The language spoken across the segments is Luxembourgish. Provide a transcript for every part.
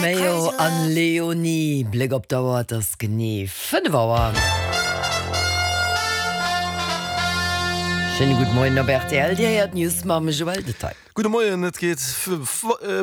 Mayo an Léonie, Bléck op d'Auer, et ass genee 5 Auer. Schéine gudde Moien op rtl, Dir héiert d'News mam Joël Detaille. Gudde Moien, et geet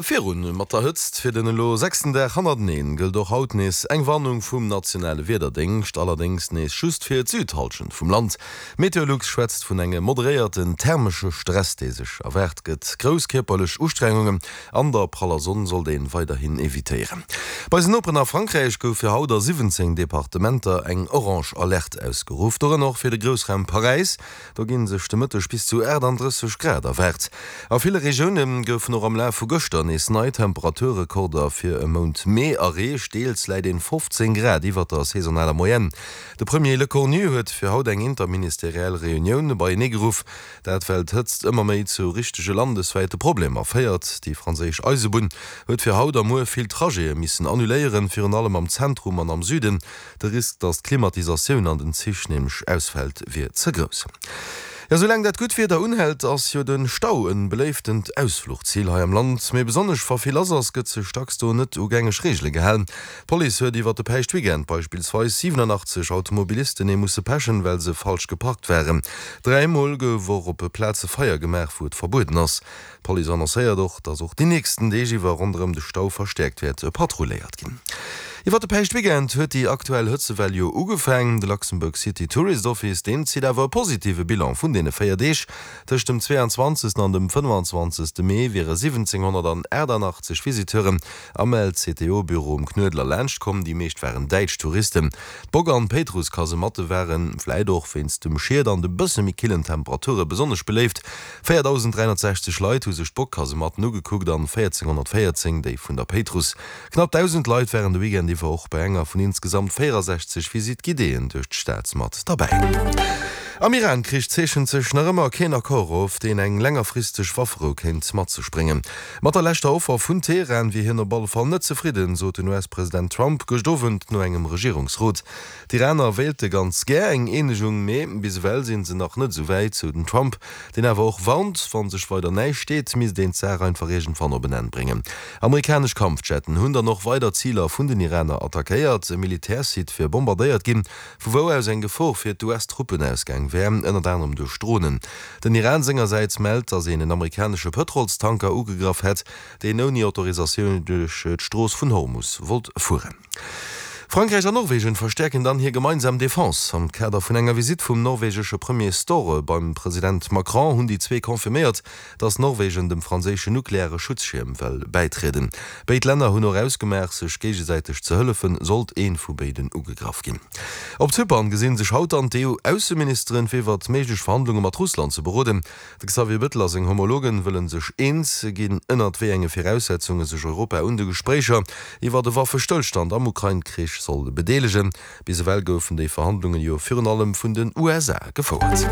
virun mat der Hëtzt. Fir den elo sechsten Dag hannerteneen gëllt och haut nees eng Warnung vum nationale Wiederdéngscht, allerdéngs nees just fir d'Südhallschent vum Land. Meteolux schwätzt vun engem moderéierten thermesche Stress, dee sech erwaart gëtt. Grouss kierperlech Ustrengungen An der praller Sonn sollt een weiderhin evitéieren. Bei eisen Noperen a Frankräich gouf fir haut a 17 Departementer eng orange Alerte ausgeruff, dorënner och fir de Groussraum Paräis. Do ginn sech de Mëtteg bis zu 38 Grad erwaart. A ville Regioune goufen och am Laf vu gëschter nees nei Temperaturrekorder fir e Mount Mee erreecht. Deels läit een 15 Grad iwwert der saisonaler Moyenne. De Premier Lecornu huet fir haut eng interministeriell Reunioun beienee geruff. Dat well d'Hëtzt ëmmer méi zu richtege landeswäite Problemer féiert. Déi franséisch Eisebunn huet fir haut a muer vill Trajete missen annuléieren, virun allem am Zentrum an am Süden. De Risk, datt d'Klimatisatioun an den Zich nämlech ausfält, wier ze grouss. Jo, soulaang dat gutt Wieder unhält, ass jo de Stau e beléiftent Ausfluchzil hei am Land. Mee besonnesch wa vill lass ass, gëtt sech dacks do net u gängeg Reegele gehalen. D'Police huet iwwer de Päischtweekend beispillsweis 87 Automobilisten ee musse pechen, well se falsch geparkt waren. Dräimol gouf och op Plaze Feier gemaach, wou et verbueden ass. D'Police annoncéiert och, datt och déi nächsten Deeg iwwer ronderëm de Stau verstäerkt wäert patrulléiert ginn. Iwwer de Päischtweekend huet déi aktuell Hëtzewell jo ugefaang. De Luxembourg City Tourist Office, deen zitt awer e positive Bilan vun deene 4 Deeg. Tëscht dem 22. an dem 25. Mee wiere 1.788 Visiteuren Am LCTO-Büro um Knuedler laanscht komm, déi meescht waren däitsch Touristen. D'Bock an d'Péitruss-Kasematte waren, vläit och wéinst dem Schied an de bësse méi killen Temperature besonnesch beléift. 4.360 Leit hu sech d'Bock-Kasematten ugekuckt an 1.414 déi vun der Péitruss. Knapp 1.000 Leit waren de Weekend iwwer och bei enger vun insgesamt 64 Visite guidéeën duerch d'Stad mat derbäi. Am Iran-Krich zeechent sech nach ëmmer keen Accord of, deen eng längerfristeg Wafferou kéint mat sech bréngen. Mat der leschter Offer vun Teheran wier hien op alle Fall net zefridden, sot den US-President Trump gëscht Owend no engem Regierungsrot. D'Iraner wéilte ganz gär eng Eenegung, mee bis ewell si se nach net esou wäit, sou den Trump, deen awer och warnt, wa sech weider näischt deet, misst een d'Saach einfach iergendwann op en Enn bréngen. Amerikanesch Kampfjetten hunn dann och weider Ziler vun den Iraner attackéiert. E Militärsite wier bombardéiert ginn, vu wou aus eng Gefor fir d'US-Truppen ausgaang wär, ënnert anerem duerch Dronen. Den Iran sengersäits mellt, datt een en amerikanesche Pëtrolstanker ugegraff hätt, deen ouni Autorisatioun duerch d'Strooss vun Hormus wollt fueren. Frankräich an Norwegen verstäerken dann hir gemeinsam Defense. Am Kader vun enger Visitt vum norwegesche Premier Støre beim President Macron hunn déi zwee confirméiert, datt Norwegen dem franséischen nukleare Schutzschierm well bäitrieden. Béid Länner hunn och ausgemaach, sech géigesäiteg ze hëllefen, sollt ee vu béiden ugegraff ginn. Op Zypern gesi sech haut dann d'EU-Ausseministeren, fir iwwert méiglech Verhandlunge mat Russland ze beroden. De Xavier Bettel a seng Homologen wëlle sech eens ginn, ënnert wéi enge Viraussetzunge sech Europa un de Gespréicher iwwert e Waffestëllstand am Ukrain-Krich soll bedeelegen. Bis ewell goufen déi Verhandlungen jo virun allem vun den USA gefouert.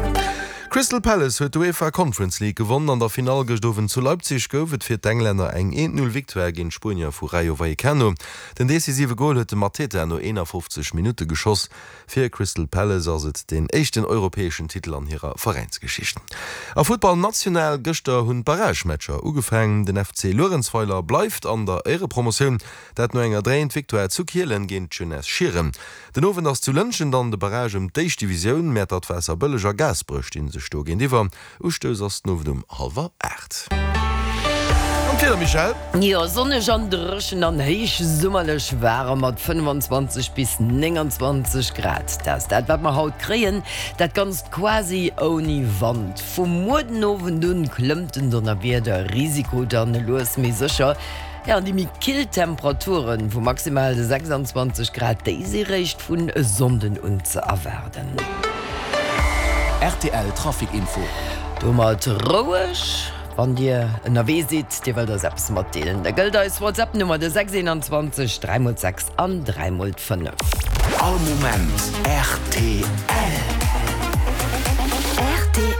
Crystal Palace huet d'UEFA Conference League gewonnen. An der Finall gëscht Owend zu Leipzig gouf et fir d'Englänner eng 1-0 Victoire géint d'Spuenier vu Rayo Vallecano. Den decisive Gol huet de Mateta no 51 Minutte geschoss. Fir Crystal Palace ass et deen éischten europäeschen Titel an hirer Veräinsgeschicht. A Futtball national, Gëschter hunn d'Barragematcher ugefaangen. Den FC Luerenzweiler bleift an der Éierepromotioun. Dat no enger dréint Victoire zu Kielen géint d'Jeunesse Schieren. Den Owend ass zu Lëntgen dann de Barrage ëm d'éischt Divisioun. Mäertert, Waasserbëlleg a Gaasperech stinn sech do géintiwwer. Ustouss ass den Owend um hallwer 8. An d'Wieder, Michèle? Jo, sonneg an dréchen an héichsummerlech waarem mat 25 bis 29 Grad. Dat ass dat, wat mer haut kréien. Dat Ganzt quasi ouni Wand. Vu muer den Owend un klëmmt den Donnerwiederrisiko dann lues mee sécher. Jo, an déi méi kill Temperaturen vu maximal 26 Grad, déi si réischt vun e Sonnden un ze erwaarden. Rtl Trafic Info. Domat roueg, wann Dir ënnerwee sidd, Dir wëllt eis eppes matdeelen, da gëllt eis WhatsApp-Nummer de 6 21 3 mol 6 an 3 mol 5. All Moment rtl. Rtl,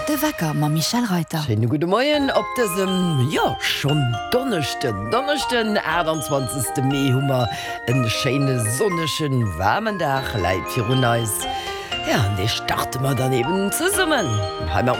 De Wecker mam Michèle Reyter. Schéine gudde Moien op dësem, jo, schonn Donneschden, Donneschden, 28. Mee hu mer en schéine sonnegen, waarmen Dag läit virun eis. Ja, an dee starte mer dann eben zesummen hei mam.